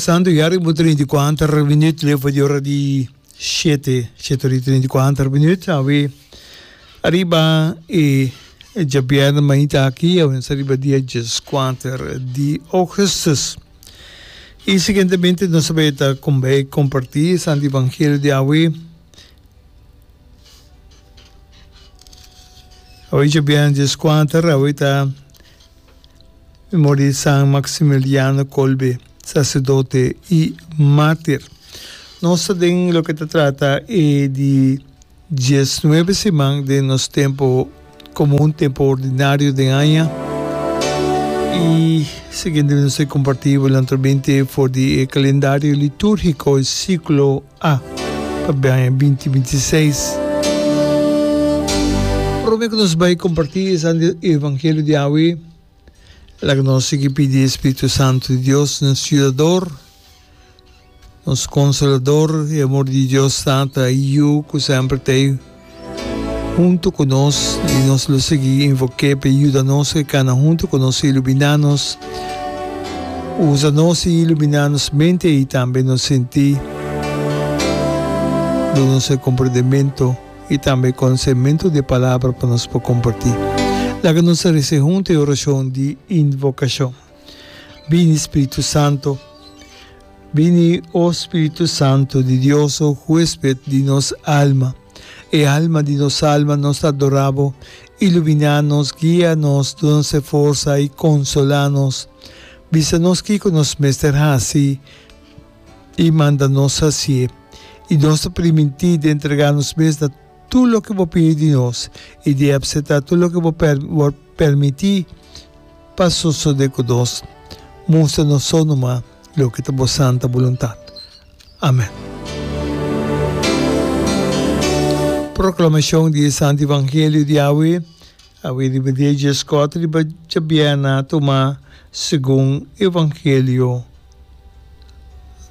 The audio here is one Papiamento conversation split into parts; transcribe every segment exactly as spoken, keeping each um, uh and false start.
Pasando ya riba trinta i kuater minuut leu for di ora di shete, shete ora i trinta i kuater minuut. Awe ariba e djabièrnè mainta aki, awe nos ariba dia dieskuater di ougùstùs. I siguientemente nos ta bai ta bai kompartí e Santo Evangelio di awe. Awe djabièrnè dieskuater, awe ta Memoria di San Maximiliano Kolbe, saserdote i mártir. Nos ta den loke ta trata e di diesnuebe siman den nos tempu komun, tempu ordinario den aña. I siguiente nos ta kompartí bo naturalmente for di e kalendario litúrgiko, e siklo A, pa aña binti binti i seis. Promé ku nos bai kompartí e Santo Evangelio di awe, laga nos sigui pidi e Spiritu Santu di Dios, nos Yudador, nos Konsolador, e amor di Dios Tata i Yu ku semper ta ei huntu ku nos, i nos lo sigui invok'é pa e yuda nos, e kana huntu ku nos, iluminá nos, usa nos i iluminá nos mente i tambe nos sintí, duna nos e komprendementu i tambe e konosementu di e Palabra pa nos por kompartí. Laga nos a resa huntu e orashon di invokashon. Bini, Spiritu Santu. Bini, o Spiritu Santu di Dios, o huesped di nos alma, e alma di nos alma, nos ta adorá bo. Iluminá nos, guia nos, duna nos e forsa i konsolá nos. Bisa nos kiko nos mester hasi i manda nos hasié. I nos ta primintí di entregá nos mes na tur loke bo pidi di nos i di apseptá tur loke bo permití pa sosodé ku nos. Mustra nos so numa loke ta bo santa boluntat. Amen. Proklamashon di e Santu Evangelio di awe, awe riba dia dieskuater riba djabièrnè tumá segun Evangelio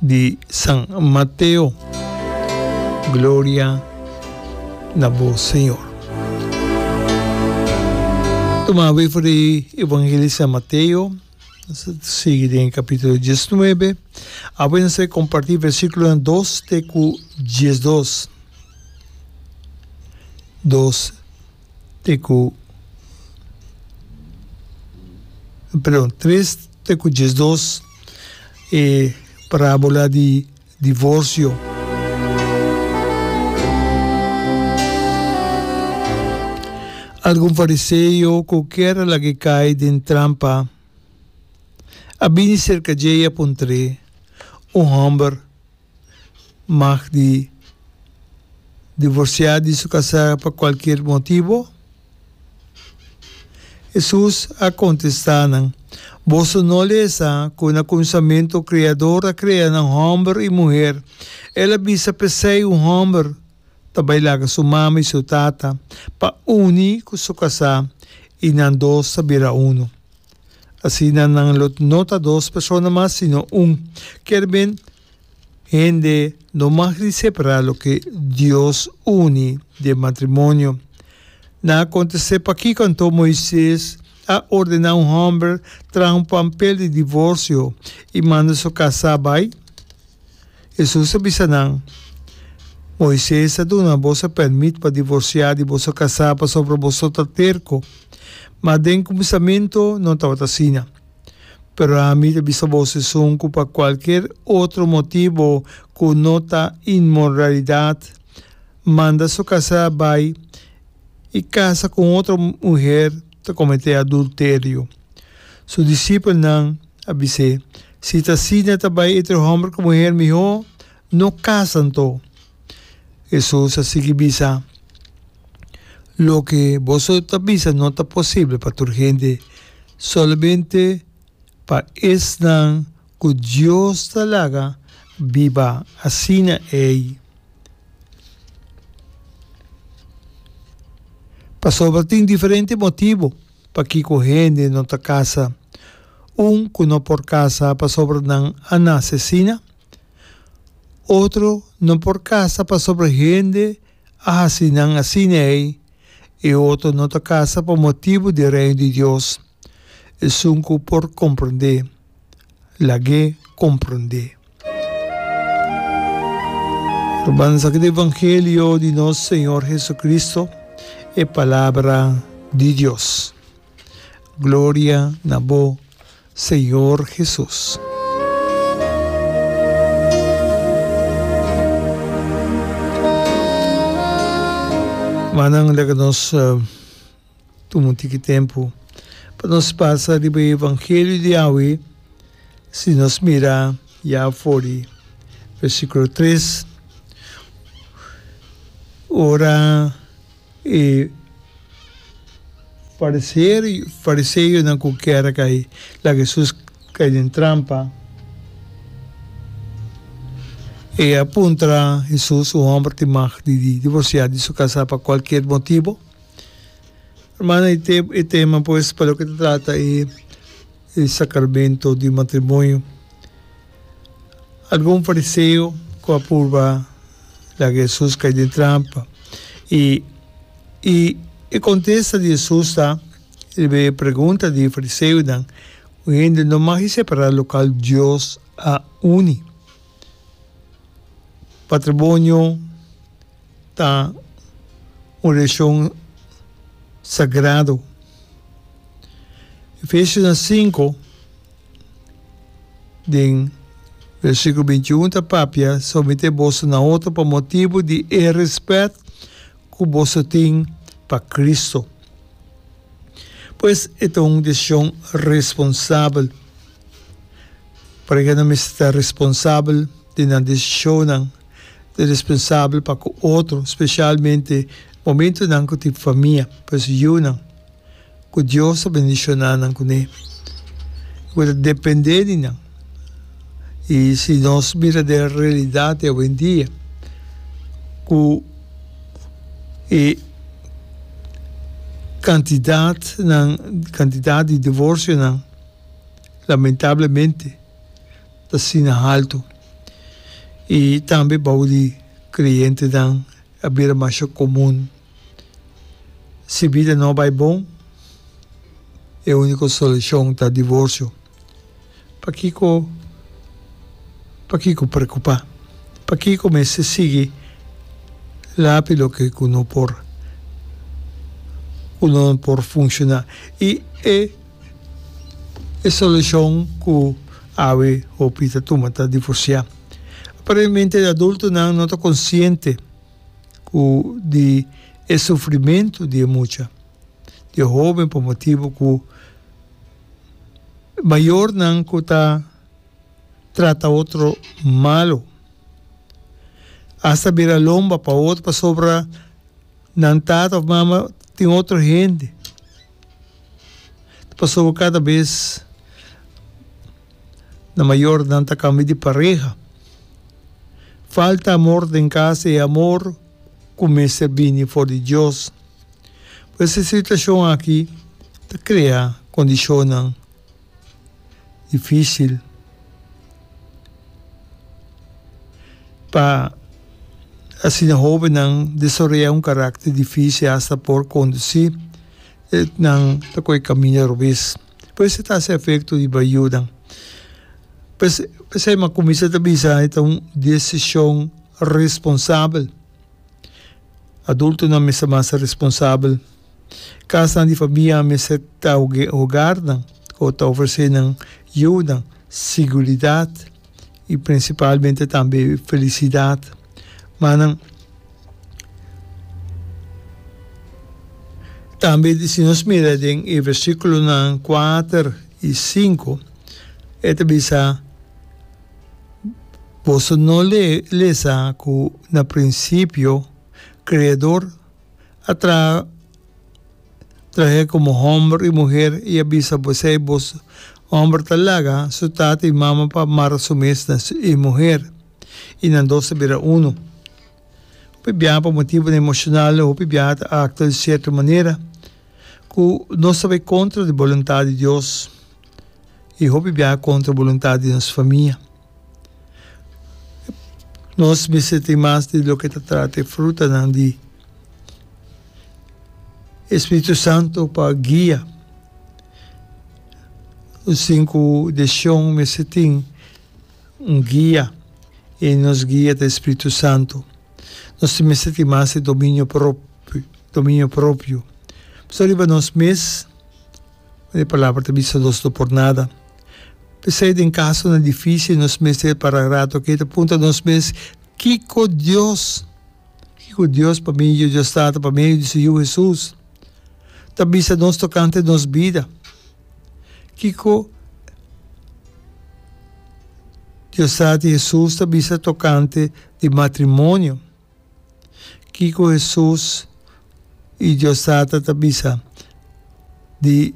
di San Mateo. Gloria na bo, Señor. Tuma awe for di Evangelio di San Mateo, nos ta sigui den capítulo diesnuebe. Awe nos ta comparti versículonan dos te cu diesdos. Dos te cu, perdon, tres te cu diesdos, e parábola di divorcio. Algun fariseo cu kier a lag'e cay den trampa a bini cerca dje y a puntr'e, Un homber mag di divorciá di su casá pa cualkier motibo? Hesus a kontestá nan, Boso no lesa ku na kuminsamentu Kreador a krea nan hòmber i muher? El a bisa, P'esei un hòmber ta bai laga su mama i su tata pa uni ku su kasá, i nan dos ta bira unu. Asina nan lo no ta dos persona mas, sino un. Kier ben, Hende no mag di separá loke Dios uni den matrimonio. Nan a kontest'é, Pakiko anto Moises a ordená un hòmber traha un pampel di divorsio i manda su kasá bai? Hesus a bisa nan, Moises a duna boso pèrmit pa divorsiá di boso kasá pasobra boso ta terko, ma den kuminsamentu no tabata asina. Pero ami ta bisa boso esun ku pa kualker otro motibu ku no ta inmoralidat manda su kasá bai i kasa ku un otro muher ta kometé adulterio. Su disipelnan a bis'é, Si ta asina ta bai entre hòmber ku muher mihó no kasa anto. Hesus a sigui bisa, Loke boso ta bisa no ta posibel pa tur hende, solamente pa esnan ku Dios ta laga biba asina ei. Pasobra tin diferente motibu pakiko hende no ta kasa. Un ku no por kasa pasobra nan a nase asina. Otro no por kasa pasobra hende a hasi nan asina ei, e otro no ta kasa pa motibu di Reino di Dios. Esun ku por komprondé, lag'é komprondé. Rumannan, esaki ta evangelio di nos Señor Jesucristo, e palabra di Dios. Gloria na bo, Señor Jesus. Rumannan, laga nos tuma un tiki tempu pa nos pasa riba e evangelio di awe. Si nos mira ya for di versíkulo tres, ora e fariseonan ku kier a kai laga Hesus kai den trampa, e a puntra Hesus, Un hòmber tin mag di divorsiá di su kasá pa kualkier motibu? Hermano, e tema pues pa loke ta trata e sacramento di matrimonio. Algun fariseo ku a purba laga Hesus kai den trampa. I i e kontesta di Hesus ta riba e pregunta di e fariseonan, Un hende no mag separá lokal Dios a uni. Patrimonio ta un relashon sagrado. Efesionan sinku den versíkulo binti i un ta papia, Someté boso na otro pa motibu di e rèspèt ku boso tin pa Kristu. Pues e ta un desishon responsabel. Parehanan mester ta responsabel den nan desishonnan. Ta responsabel pa ku otro, spesialmente momentunan ku tin famia, pues yunan ku Dios ta bendishoná nan kuné, ku ta dependé di nan. I si nos mira den realidat di awendia ku e kantidatnan, kantidat di divorsionan lamentablemente ta asina haltu i tambe bou di klientenan a bira masha komun. Si bida no bai bon, e úniko solushon ta divorsio. Pakiko pakiko preokupá? Pakiko mester sigui lapi loke ku no por ku no por funshoná? I e E solushon ku awe hopi ta tuma ta divorsiá. Aparentemente e adultonan no ta konsiente ku di e sufrimentu di e mucha, di e hóben pa motibu ku mayornan ku ta trata otro malu, asta bira lomba pa otro pasobra nan tata òf mama tin otro hende. Ta pasobra kada bes na mayornan ta kambia di pareha. Falta amor den kas, e amor ku mester bini for di Dios. Pues e situashon aki ta krea kondishonnan difísil pa asina hóbennan desaroyá un karakter difísil asta por kondusí nan ta kohe kaminda robes. Pues e ta hasi efekto riba yunan. Pues p'esei mi a kuminsá ta bisa e ta un desishon responsabel. Adultonan mester mas responsabel. Kasnan di famia mester ta hogarnan ku ta ofresé nan yunan siguridat i prinsipalmente tambe felisidat. Ma nan tambe si nos mira den e versíkulonan kuater i sinku e ta bisa, Boso no lesa ku na prinsipio Kreador a traha trah'é komo hòmber i muher i a bisa bosei boso hòmber ta laga su tata i mama pa mara su mes na e muher i nan dos ta bira unu. Hopi biaha pa motibunan emoshonal hopi biaha ta aktua di sierto manera ku nos ta bai kontra di boluntat di Dios i hopi biaha kontra boluntat di nos famia. Nos mester tin mas di loke ta trata e frutanan di e Spiritu Santu pa guia. Un sinku desishon mester tin un guia i nos guia ta e Spiritu Santu. Nos mester tin mas dominio propio, dominio propio. Pasobra riba nos mes, e palabra ta bisa nos no por nada. P'esei den kasonan difísil nos mester para rato aki ta puntra nos mes, Kiko Dios, kiko Dios pa medio di Dios Tata, pa medio di su Yu Hesus, ta bisa nos tokante nos bida? Kiko Dios Tata i Hesus ta bisa tokante di matrimonio? Kiko Hesus i Dios Tata ta bisa di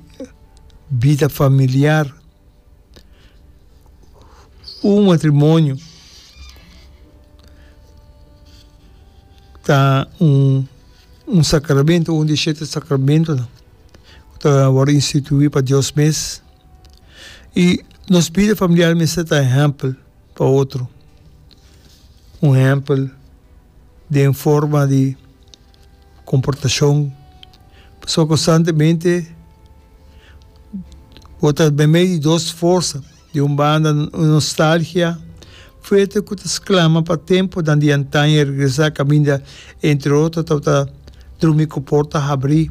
bida familiar? Un matrimonio ta un un sacramento, un di shete sacramentonan ku ta wòrdu instituí pa Dios mes. I nos bida familiar mester ta ehèmpel pa otro, un ehèmpel den forma di komportashon, pasobra konstantemente bo ta meimei di dos forsa, di un banda un nostalgia fuerte ku ta sklama pa tempunan di antaño regresá kaminda entre otro tabata drumi ku porta habrí,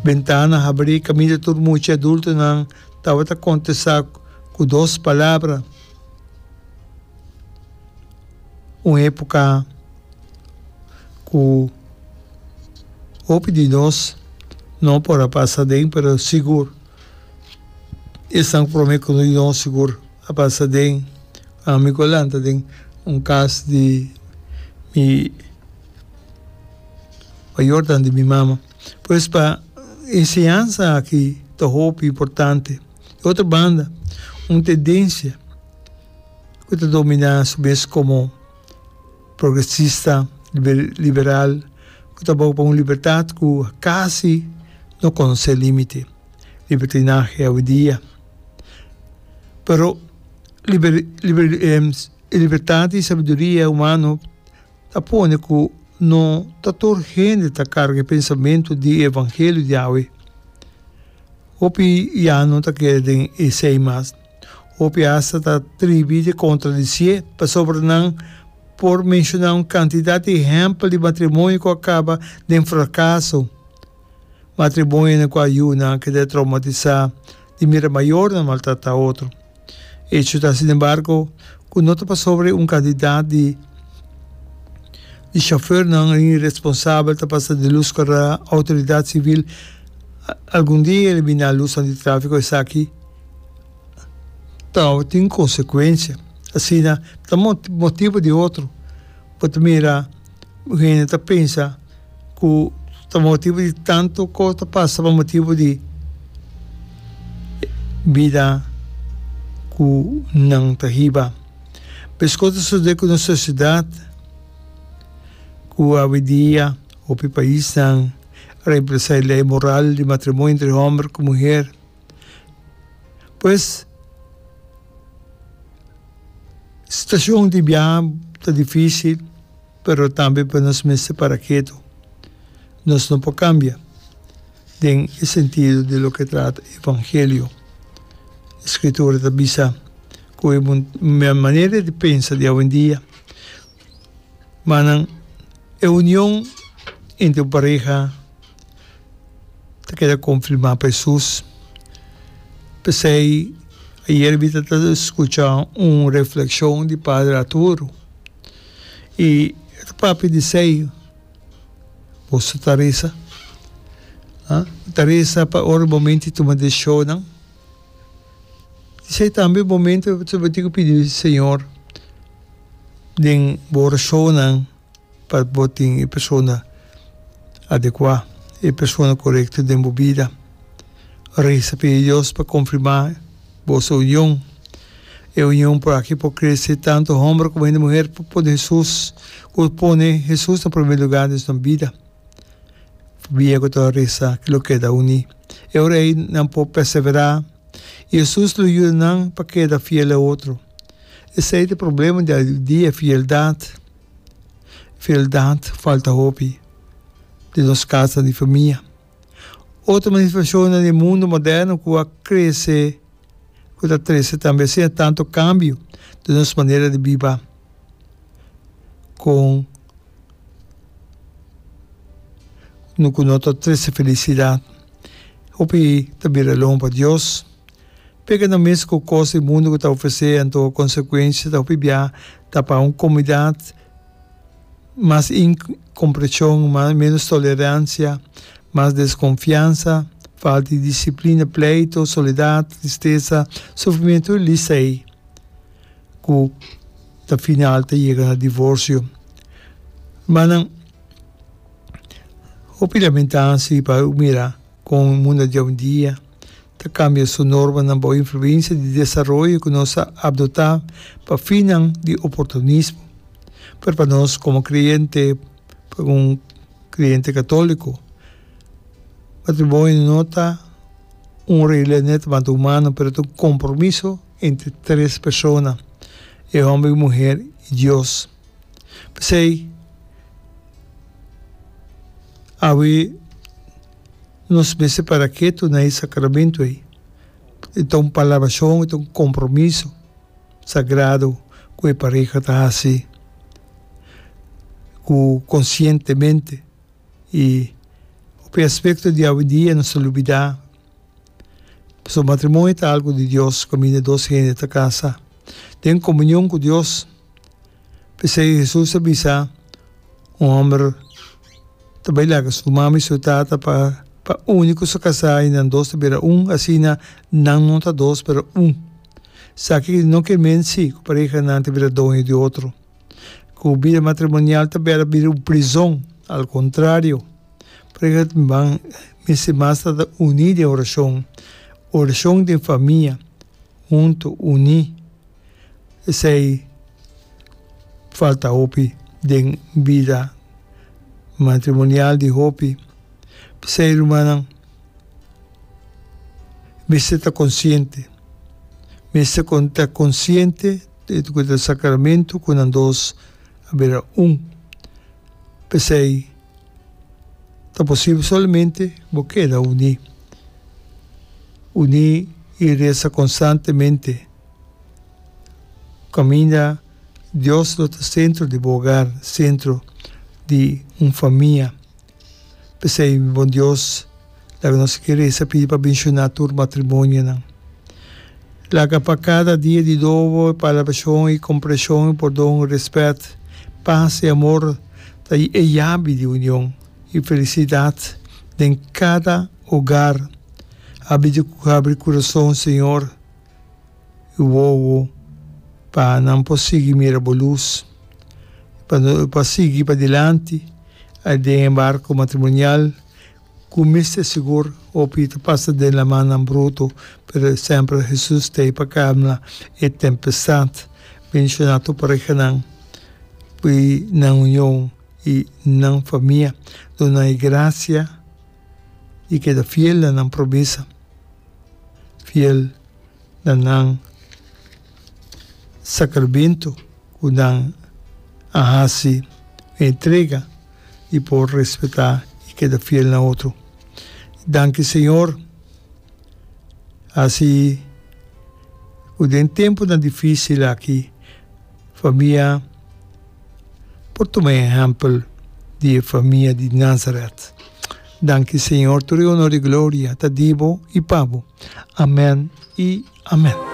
bentana habrí kaminda tur mucha i adultonan tabata kontestá ku dos palabra. Un époka ku hopi di nos no por a pasa aden, pero sigur esnan ku promé ku nos sigur a pasa aden. Ami ku a lanta den un kas di mi mayornan di mi mama. Pues pa enseñansa aki ta hopi importante. Di otro banda, un tendensia ku ta dominá su mes komo progresista liberal ku ta boga pa un libertat ku kasi no konosé límite, libertinahe awendia. Pero libertat i sabiduria humano ta pone ku no ta tur hende ta karga e pensamentu di e evangelio di awe. Hopi ya no ta kere den esei mas. Hopi asta ta tribi di kontradisié pasobra nan por menshoná un kantidat di ehèmpel di matrimonio ku a kaba den frakaso, matrimonionan ku a yunan a keda troumatisá di mira mayornan maltratá otro. Echo ta sinembargo ku no ta pasobra un kantidat di di shofèrnan iresponsabel ta pasa di lus kòrda outoridat sivil algun dia eliminá lusnan di tráfiko esaki ta tin konsekuensia. Asina ta motibu di otro bo ta mira hende ta pensa ku ta motibu di tantu kos ta pasa pa motibu di bida ku nan ta hiba. Meskos ta sosodé ku nos sosiedat ku awendia hopi paisnan a remplasá e lei moral di matrimonio entre hòmber ku muher. Pues situashon di biaha ta difísil. Pero tambe pa nos mester para ketu. Nos no por kambia den e sentido di loke trata evangelio. E Skritura ta bisa ku e manera di pensa di awendia, manan e union entre un pareha ta keda konfirmá pa Hesus. P'esei ayer mi ta skucha un reflekshon di Padre Arturo. I e ta papia di esei, Boso ta resa? Ha? Ta resa pa ora momento di tuma desishonnan? Esei tambe momento ku bo tin ku pidi Señor den bo orashonnan pa bo tin e persona adekuá, e persona korekto den bo bida. Resa pidi Dios pa konfirmá boso union. E union por aki por crece tanto homber como hende muher por pone Hesus cu pone Hesus na primer lugar den nan bida. Bia cu ta reza lo keda uni. E ora ey nan por persevera y Hesus lo yuda nan pa keda fiel a otro. Esey ta e problema di awendia, fieldad. Fieldad falta hopi den nos casa di famia. Otro manifestacionnan di mundo moderno cu a crece. Ku ta trese tambe asina tantu kambio den nos manera di biba. Kon ku no ta trese felisidat. Hopi ta bira lomba pa Dios. Pega nan mes ku kos di mundu ku ta ofresé, anto konsekuensia ta hopi bia ta pa un komunidat mas inkomprenshon, mas ménos toleransia, mas deskonfiansa, falta di disiplina, pleito, soledat, tristesa, sufrimentu, e lista ei ku ta final ta yega na divorsio. Rumannan, hopi lamentá si pa mira kon mundu di awendia ta kambia su normanan bou influensia di desaroyo ku nos a adoptá pa finnan di oportunismo. Pero pa nos komo kreyente, pa un kreyente katóliko, matrimonio no ta un regla netamente humano, pero ta un kompromiso entre tres persona, e hòmber i muher i Dios. P'esei, awe nos mester para ketu na e sakramentu ei. E ta un palabrashon, e ta un kompromiso sagrado ku e pareha ta hasi ku konsientemente. I hopi aspekto di awendia nos ta lubidá. Pasobra matrimonio ta algu di Dios, kaminda dos hende ta kasa den komunion ku Dios. P'esei Hesus a bisa, Un hòmber ta bai laga su mama i su tata pa pa uni ku su kasá i nan dos ta bira un, asina nan no ta dos pero un. Esaki no ke men si ku parehanan ta bira doño di otro, ku bida matrimonial ta bira bira un prizon. Al kontrario, pareha mester mas ta uní den orashon, orashon den famia. Huntu uní. Esei falta hopi den bida matrimonial di hopi. P'esei rumannan mester ta konsiente, mester ta konsiente ku ta sakramentu ku nan dos a bira un. P'esei ta posibel solamente bo keda uní. Uní i resa konstantemente. Kaminda Dios lo ta sentro di bo hogar, sentro di un famia. P'esei, mi bon Dios, laga nos ke resa pidi pa benshoná tur matrimonionan. Laga pa kada dia di dobo, palabrashon i kompreshon i pordon, rèspèt, pas i amor ta e yabi di union i felisidat den kada hogar. Habri kurason, Señor, i wowo pa nan por sigui mira bo lus, pa pa sigui padilanti den e barko matrimonial ku mester sigur hopi ta pasa den lamannan bruto, pero semper Hesus ta ei pa kalma e tempestat. Bendishoná tur parehanan i nan union i nan famia. Duna nan e grasia i keda fiel na nan promesa, fiel na nan sakramentu ku nan a hasi un entrega di por respetá i keda fiel na otro. Danki Señor, hasi ku den tempunan difísil aki famia por tuma e ehèmpel di e famia di Nazaret. Danki Señor, tur e honor i gloria ta di bo i pa bo. Amèn i amèn.